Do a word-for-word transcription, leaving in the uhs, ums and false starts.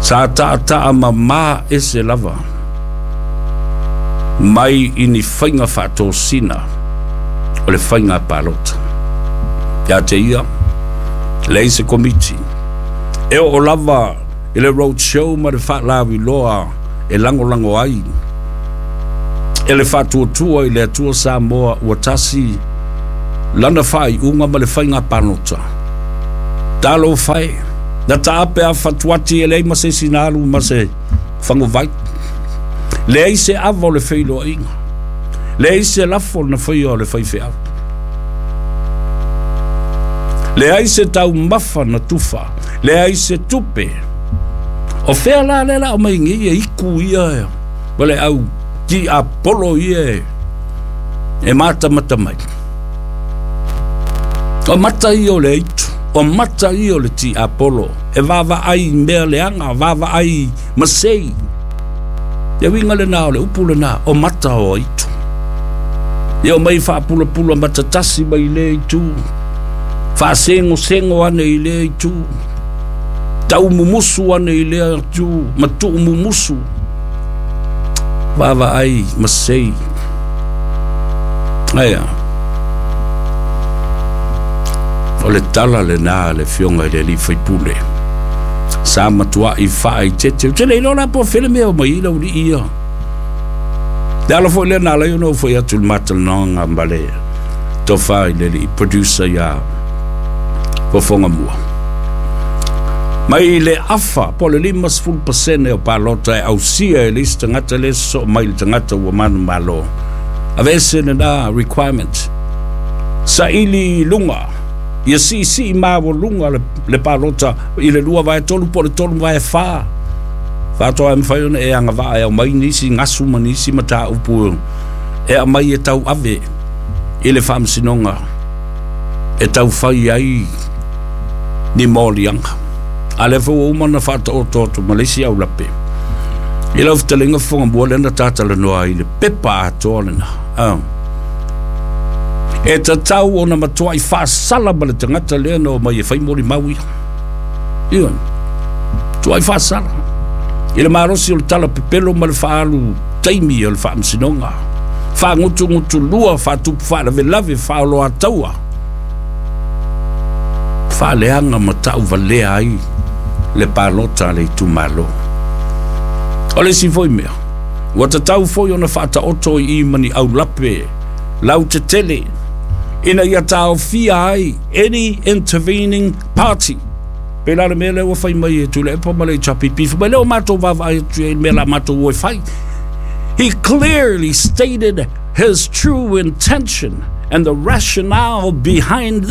Sa taataa mamā ese lava mai i ni faiga faatosina o le faiga palota. Ia te ia, leai se Komiti e oo lava i le road show ma le faalauiloa e lagolago ai e le Faatuatua i le Atua Samoa Ua Tasi lana faaiuga ma le faiga palota. Talofa e, na taape a fatuati e leai ma se isi na alu ma se faguvai. Leai se ava o le feiloaiga, leai se lafo na faia o le faifeau, leai se taumafa na tufa, leai se tupe. O fea la lea la o mai nei e iku ia ma le au tiapolo ia e matamata mai? O mata ia o le aitu, o mata ia o le tiapolo e vaavaai mea leaga, vaavaai masei. Le uiga lena o le upu lena, o mata o aitu. Ia o mai faapulapula matatasi mai lea itu, faasegosego ane i lea itu, taumumusu ane i lea itu, ma tuumumusu, vaavaai masei. Aia o le tala lena a le Afioga i le alii faipule sa matuai faaeteete. Ou te le iloa la po o fea le mea o mai ai laulii ia. Le ala foi lea na ala ai ona ou fai atu i le matalanoaga ma le tofa i le alii producer iā Fofoga Mua. Mai le afa po o le limasefulu pasene o palota e ausia e le isi tagata lea e sosoo mai i le tagata ua manumalo. Aveese lena requirement. Saili i luga, ia siisii maualuga le, le palota i le lua vae tolu po o le tolu vae fa. Faatoa e mafai ona e agavaa e aumai nisi gasu ma nisi mataupu e aumai e tauave i le faamasinoga e taufai ai ni moliaga. A lea foi ua uma ona faataoto atu ma le isi aulape i lau fetalaiga Fofoga Mua lea na tatalanoa ai i le pepa atoa lena. Ah. E tatau ona matuai faasala ma le tagata lea na omai e fai molimau ia. Ioe. Tuai faasala i le malosi o le tala pepelo ma le faaalu taimi o le faamasinoga. Faagutugutulua, faatupu faalavelave, faaoloataua, faaleaga ma tauvalea ai le palota a le itumalo. O le isi foi mea, ua tatau foi ona faataoto i i ma ni aulape lautetele ina ia taofia ai any intervening party. Pei la le mea lea ua fai mai e Tuilaepa ma le H R P P, fai mai lea ua matou vaavaai atu i ai i le mea la matou o e fai. He clearly stated his true intention and the rationale behind